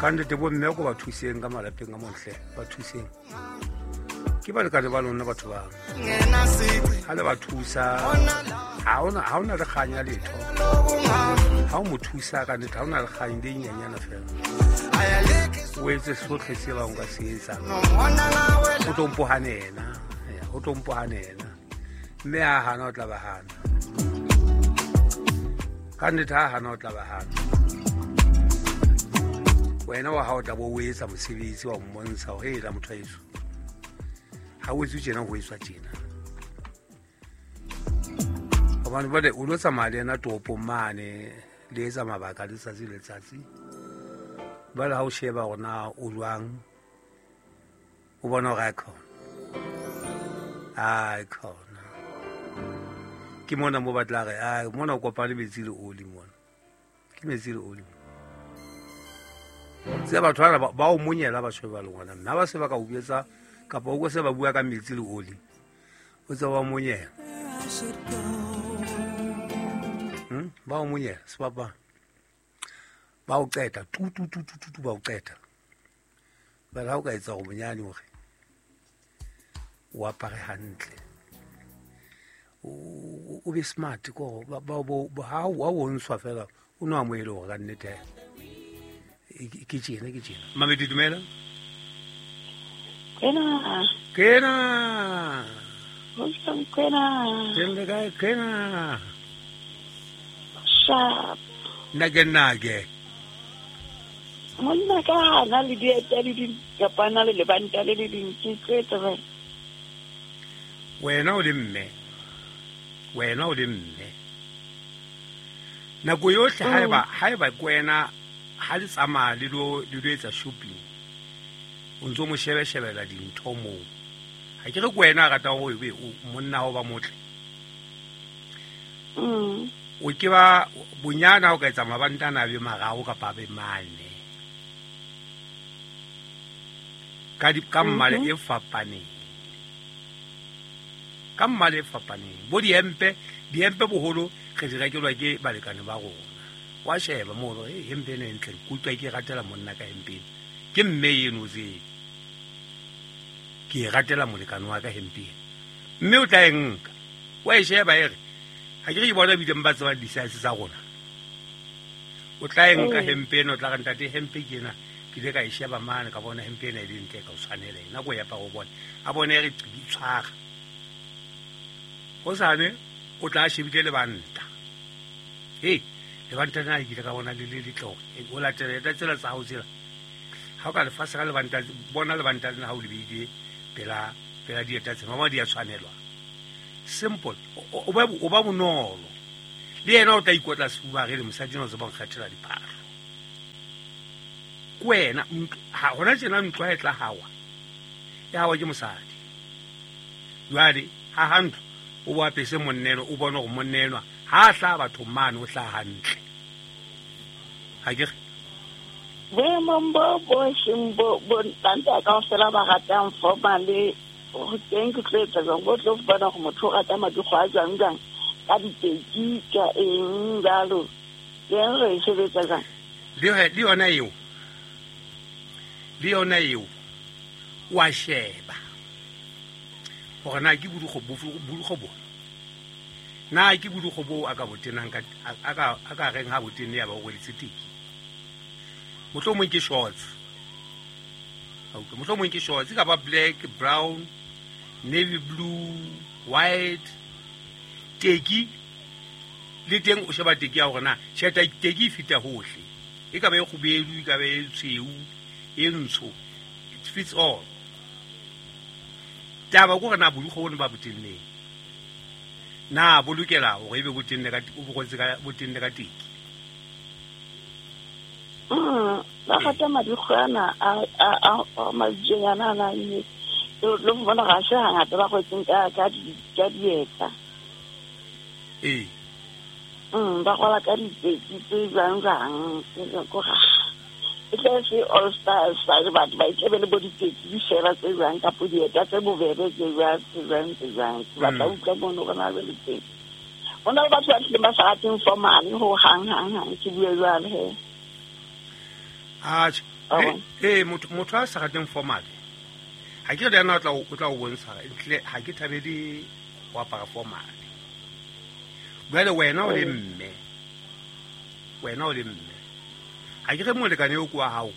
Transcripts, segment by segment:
Ka nnete bomme ko ba thuseng ka malapeng a montle, ba thuseng. Ke balekane ba lona batho ba. Ha le ba thusa, ha ona le kganya letho. Ha o mo thusa ka nnete, ha ona le kgang le nyenyana fela. O etse sohle se bang ka se etsang. O tlo mpohane yena, o tlo mpohane yena. Mme ha hana o tla ba hana. Ka nnete ha hana o tla ba hana. Wena wa hao tla bo o etsa mosebetsi wa mmontsha hore hela motho wa heso. Ha o etswe tjena, ho etswa tjena. Hobane jwale o lo tsamaya le yena toropong mane, le etsa mabaka letsatsi le letsatsi. Jwale ha o sheba hore na o jwang, o bona hore a khona. Ai khona. Ke mona mo batla re, ai mona o kopane metsi le oli mona. Ke metsi le oli. Tse batho bana ba o monyela ba sheba le ngwana. Nna ba se ba ka o etsa kapa o se ba bua ka metsi le oli. O tse ba monyela. Ba o monyela sebapa. Ba o qeta tu tu tu tu tu ba o qeta. Ba la o ka etsa go bonyane hore o apare hantle. O be smart ko ba ba ha o ntshwa fela o no amohele hore ka nnete ke tjena ke tjena. Mamedi dumela. Kena. Kena. Ho kena. Teng kae kena. Sharp. Nage nage. Monna ka na le dieta le di kapana le lebanta le le dintsi tse tse. Wena o le mme. Wena o le mme. Nako yohle haeba ke wena ha le tsamaya le lo etsa shopping, o ntso mo shebeshebela dintho moo. Ha ke re ke wena a ratang hore ebe monna hao ba motle. O ke ba bonyana o ka etsa mabantana a be mararo kapa a be mane. Ka mmala e fapaneng. Ka mmala e fapaneng. Bo diempe boholo re di rekelwa ke balekane ba rona. Wa sheba mo hore hempe ena e ntle, ke utlwa ke ratela monna ka hempe ena. Ke mme eno tse. Ke ratela molekane wa ka hempe ena. Mme o tla e nka. Wa e sheba e re, ha ke re ke bona bileng ba tsebang di-size tsa rona. O tla e nka hempe ena, o tla re ntate hempe ke ena. Ke ile ka e sheba mane ka bona hempe ena e le ntle ka o tshwanela ena. Ko e apara o bone. A bone e re tshwara. Hosane o tla shebile lebanta. Hey, lebanta na ke ile ka bona le le letle hore o latela eta tsela tsa hao tsela. Ha o ka lefatshe ka lebanta, bona lebanta lena ha o le beile pela dieta tsena, mama di a tshwanelwa. Simple. O ba bonolo. Le yena o tla ikotla sefuba re le mosadi o tseba nkgethela diphahlo. Ke wena ha hona tjena ntlo ha e tla hawa. E hawa ke mosadi. Jwale ha ha ntlo o bo apese monneno, o bone hore monnenwa ha hla batho mane o hla hantle. Ha ke re boemong bo bo seng bo ntanta kaofela ba ratang formally ho teng ke tlo etsa jwang, bo tlo bona hore motho o rata madikgo a jwang jwang ka diteki ka eng jalo. Teng re e sebetsa jwang? Le yona eo. Le yona eo wa sheba hore na ke bodikgo bo. Na ke bodikgo bo a ka botenang ka a ka reng ha botenne ya ba o rweletse teki. Mohlomong ke shorts. Mohlomong ke shorts ka ba black, brown, navy blue, white. Teki le teng o sheba teki ya hore na tjheta teki e fita hohle. E ka ba e kgubedu, e ka ba e tshweu, e ntsho. It fits all. Taba ke hore na bodikgo bona ba botenneng. Na bo lokela hore ebe botenne ka o bo ka botenne ka teki. Ba rata madikgo ana a majonyana ana le le bona ga se hangata ba kwetseng ka dieta. Ee. Ba kwala ka diteki tse jwang jwang ko ga e tla se all stars batho ba itlebe le bo diteki di fela tse jwang kapo dieta tse bobebe tse jwang tse jwang tse jwang. Ba tla utlwa mono hore na le teng. Hona le batho ba tlileng ba sa rateng formal ho hang hang hang ke bue jwale he. Atjhe, Motho a sa rateng formal ha ke re yena o tla o bontsha ntle ha ke thabele ho apara formal. Jwale wena o le mme, ha ke re molekane eo kwa hao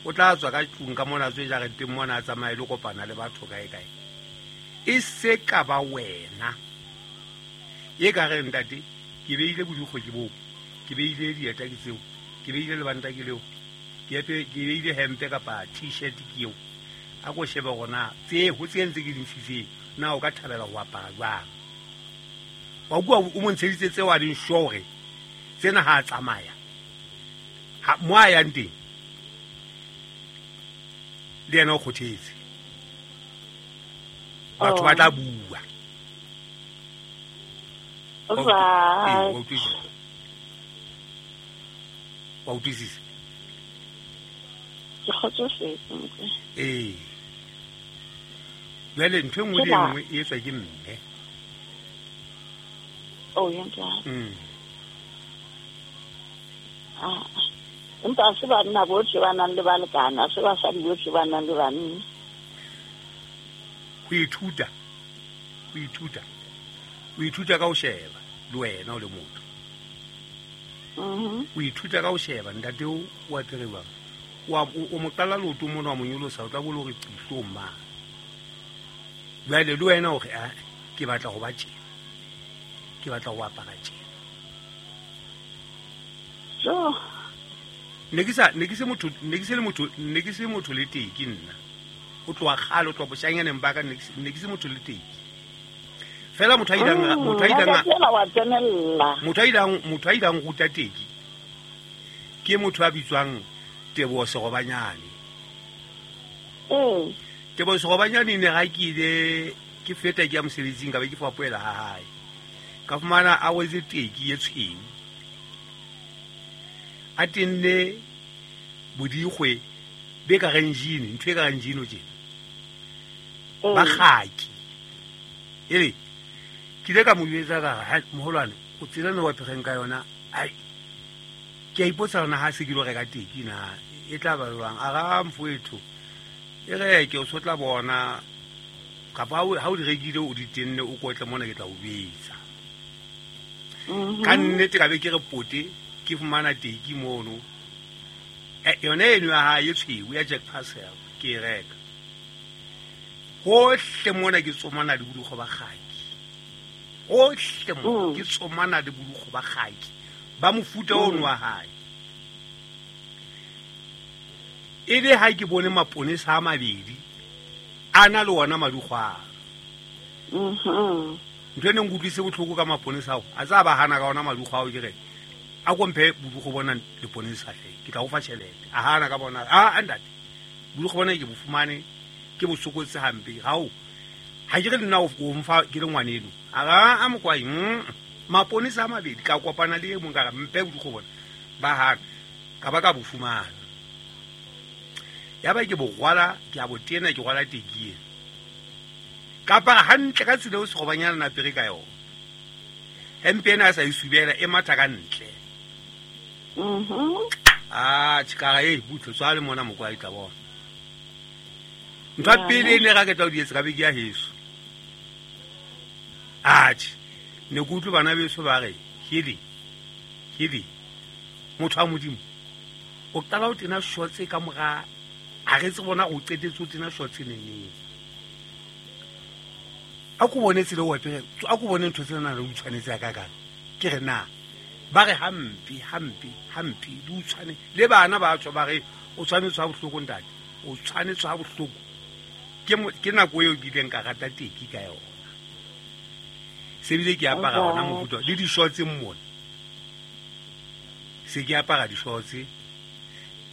o tla tswa ka tlung ka mona tswe jareteng mona a tsamaye le kopana le batho kae kae, e se ka ba wena e ka re ntate ke beile bodikgo ke boo, ke beile dieta ke tseo, ke beile lebanta ke leo, ke beile hempe kapa t-shirt ke eo, a ko shebe gona tse ho tse ntse ke di ntshitseng na o ka thabela ho apara jwang. Wa kua o mo ntsheditse tseo a ding sure tsena ha a tsamaya mo a yang teng le yena o kgothetse, batho ba tla bua. Wa utlwisisa? Ke kgotsofetse. Ee, jwale ntho e nngwe le e nngwe e etswa ke mme. Empa ha se banna bohle ba nang le balekane, ha se basadi bohle ba nang le banna. Ho ithuta o ithuta ka ho sheba le wena o le motho. O ithuta ka ho sheba ntate o apere jwang, o mo qala leoto mona wa mo nyolosa, o tla bo le hore qihlong mang. Jwale le wena o re a ke batla ho ba tjena, ke batla ho apara tjena. Ne ke se motho le teki nna. O tloha kgale, o tloha boshanyaneng ba ka, ne ke se motho le teki. Fela motho a ileng ruta teki ke motho a bitswang Teboho Serobanyane. Teboho Serobanyane ne ga ke ile ke feta ke ya mosebetsing ka be ke fapoela ha hae, ka fumana a wetse teki e tshweu, a tenne bodikgwe be ka reng jini, ntho e ka reng jini o tjena ba kgaki. Ele ke ile ka mo jwetsa ka re moholwane o tsela ne wa phereng ka yona, ai ke a ipotsa hore na ha se ke lo reka teki na e tla ba jwang. A ra mfowetho e reke o so tla bona, kapa ha o di rekile o di tenne o kotle mona ke tla o betsa. Ka nnete ka be ke re pote ke fumana teki mono, yone eno ya hae e tshweu ya Jack Parcel ke e reka. Hohle mona ke tsomana le bodikgo ba kgaki, hohle mona ke tsomana le bodikgo ba kgaki ba mofuta ono wa hae. E le ha ke bone maponesa a mabedi a na le ona madikgo ao. Ntho e neng ke utlwise botlhoko ka maponesa ao, a tsa ba hana ka ona madikgo ao, ke re a komphe bodikgo bona leponesa hle, ke tla o fa tjhelete. A hana ka bona, a ntate bodikgo bona ke bo fumane ke bo sokotse hampe, gao ha ke re nna o mfa ke le ngwaneno. A ra a mokwai maponesa a mabedi ka kopana le e mong ka re mpe bodikgo bona, ba hana ka ba ka bo fumana. Ya ba ke bo rwala, ke a bo tena, ke rwala teki ena ka apara hantle ka tsela eo Serobanyana na apere ka yona. Hempe ena a sa e subela e matha ka ntle. A tshikara e butle tswa le mona mokwai tla bona. Ntho ya pele e ne ra ke tla o di etsa ka be ke ya heso. Atjhe, ne ke utlwe bana beso ba re hedi hedi motho wa Modimo o qala o tena shorts ka mora, a re tse bona o qetetse o tena shorts neneng. A ko bone tsela o apere, a ko bone ntho tsena le o tshwanetse ka kang. Ke re na ba re hampe hampe hampe di o tshwane le bana ba tswa ba re o tshwanetse ha bohloko ntate, o tshwanetse ha bohloko. Ke nako eo ke ileng ka rata teki ka yona. Se bile ke apara hona mofuta le di-shorts mona, se ke apara di-shorts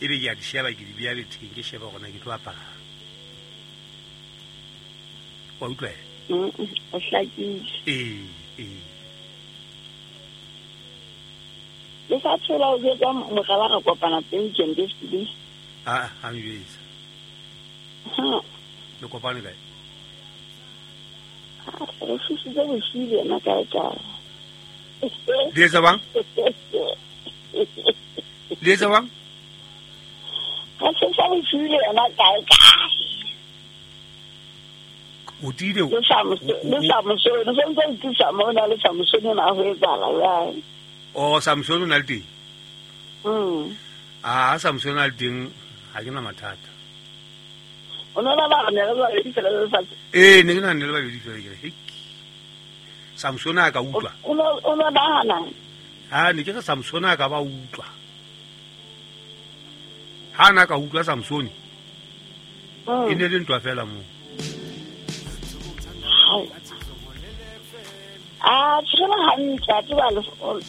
ebe ke a di sheba, ke di beha betheng, ke sheba hore na ke tlo apara. Wa utlwa? O hlakile. Ee. Le sa tshola o jwetsa mogala re kopana teng weekend e fetileng. A ha njwetsa. Le kopane kae? Re fusitse bosiu le yena kae kae. Le etsa bang? Le etsa bang? Ga se sa bosiu le yena kae kae. O tiile Le Samsone sentse ntisa mona le Samsone na ho etsahala jwang? O Samsone o na le teng? A Samsone a le teng ga ke na mathata. O ne ba re ne re babedi fela le lefatshe. Ee, ne ke nahane le babedi fela ke re hei. Samsone a ka utlwa. O ne nahana? Ha ne ke re Samsone a ka ba utlwa. Ha na ka utlwa Samsone. E ne le ntwa fela moo. A tshela hantle a tseba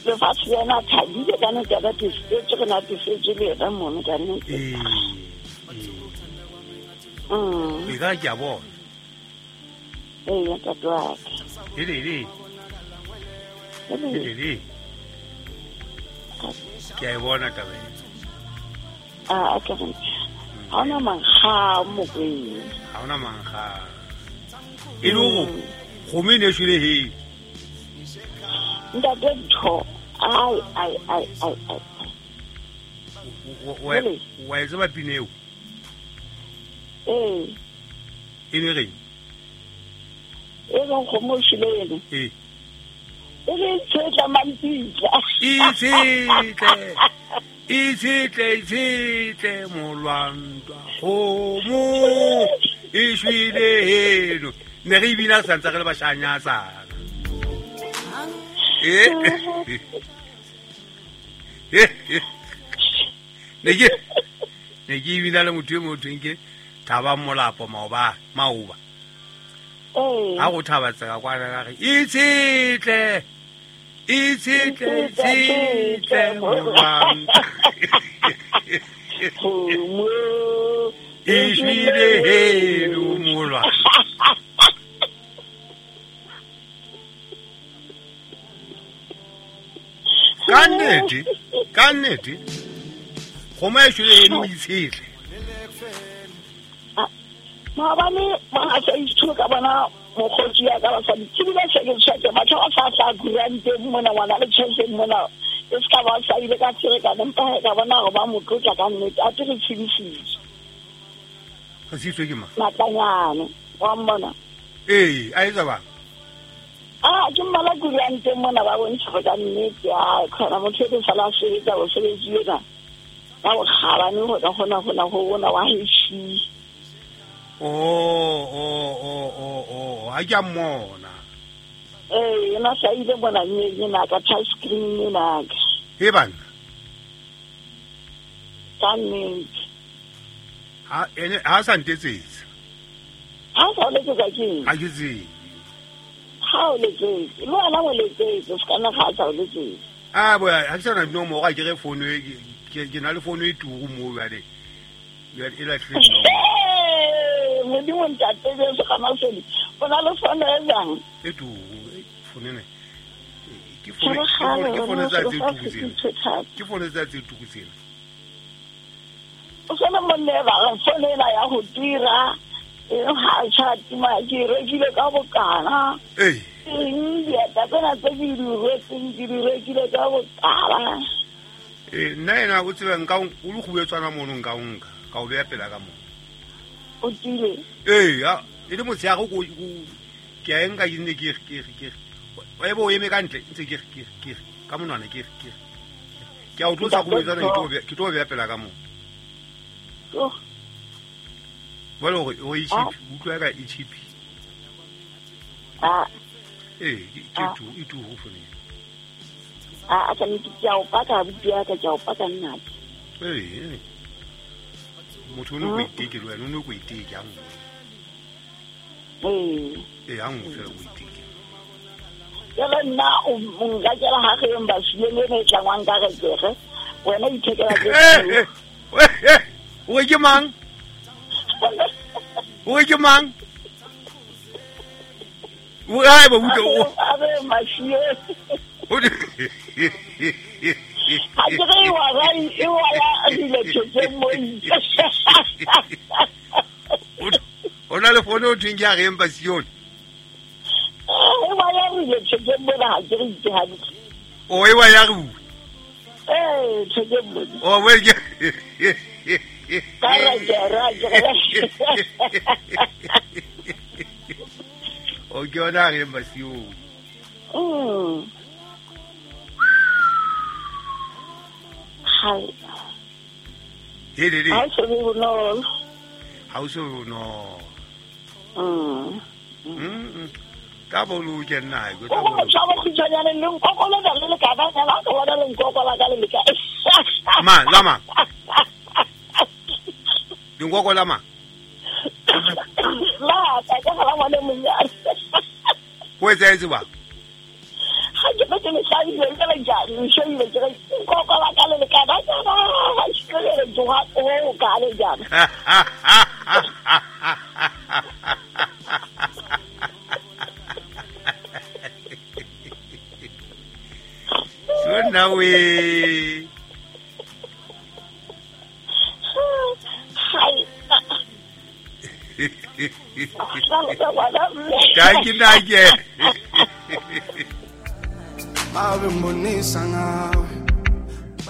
lefatshe lena thabile ka nnete a natefetswe re natefetswe le yena mono ka nnete. E ka ke a bona. Ee, ntate wa ka. Ele. Ke a e bona taba ena. A ka re ha ona mankga mokweng. Ha ona mankga. E le hore kgomo e ne e shwele he. Ntate ntho. Ai ai ai ai ai. Wa e tseba pina eo? Ee. E ne reng? E reng kgomo e shwele ene? Ee. E re tshetla mampitla. E tshetle. E tshetle molwantwa kgomo e shwele heno. Ne re ebile a santse re le bashanyatsana. Ne ke ebile le motho e motho ke Thaba Molapo maoba. Ha go thaba tseka kwana ka re e tshetle molwantwa kgomo e shwele heno molwantwa. Ka nnete kgomo e shwele heno e tshetle. Maobane ba sa ithuka ka bona mokgotsi ya ka basadi ke bile se ke tshwake batho ba sa tla kuranteng mona ngwana le tjhelete mona e se ka ba sa ile ka ferekana empa ka bona gore ba mo tlotla ka nnete a te re tshedisitswe. Re tshedisitswe ke mang? Matlanyane wa mmona. Ee, a etsa bang? A ke mmala kuranteng mona ba bontsha gore ka nnete a kgona motho e ke sala a sebetsa mosebetsi ena ka bokgabane go ka kgona go bona wa heshi. Oh, ha ke a mmona. Ee, yena sa ile mona ena ka touch screen ena ka. He bana. Ka nnete. Ha ene ha sa ntetsetse. Ha sa o letsetsa ke eng? Ha ke tsebe. Ha o letsetse. Le wena o letsetse, se kana ga sa o letsetse. A bo ha ke sana nomoro ha ke re phone e ke na le phone e turu mo jwale. Jwale e lahlile nomoro. Modimo ntate Jesu ka masedi. O na le phone e jang? E turu, phone ena. Ke phone tsa tse turu tsena. Ke phone tsa tse turu tsena. O sona monne ba re phone ena ya ho tira. E ha cha tima ke rekile ka bokana. Ee. Eng dieta tsena tse ke di retseng ke di rekile ka bokana. Ee, nna ena o tseba nka o le kgubetswana mono nka o nka ka o beya pela ka mo. O tiile. Ee, ya e le motshehare ko ke a enka ke nne ke e bo o eme ka ntle ntse ke ka monwana ke ke a o tlosa kgubetswana ke tlo beya pela ka mo. Oh. Jwale hore o e cheap, utlwa ka e cheap. Ah. Ee, ke tu e tu ho fone. A ka nnete ke a o paka abuti ya ka ke a o paka nna. Ee. Motho o no go iteke le wena o no go iteke a nngwe. Ee. Ee, a nngwe fela go iteke. Jale nna o nka kela ga ge mbasile le ne tlangwang ka re kege. Wena o ithekela ke. O ke mang? O ke mang? O ai ba utlwa o. A re mashie. Ha ke re wa ra e wa ya dilo tse mo itse. O na le phone o thweng ke a re embasione. E wa ya dilo tse mo ha ke re itse hantle. O e wa ya re. Eh, tse mo. O we ke. Ka raja raja. O ke yona a reng basiong. Hai. Helele. Ha so be bonolo. Ha o so be bonolo. Ka boloke nna ke tla. O tshaba khutshwanyane le nkokola le le ka ba ka bona le nkokola ka le le ka. Ma, lama. Dinkokola ma. La, ka ka la ngwana monyane. Ho etsahetse ba? Ha ke ke le hlabile ke le jang, shebile ke re nkokola ka le le ka ba ka ba ke le joa o ka le jang. Sona we. Hai. Dankie, dankie.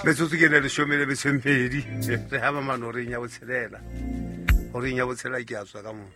Metsotso ke ne leshome le metso e mmedi. Re haba mane horeng ya botshelela. Horeng ya botshelela ke a tswa ka mona.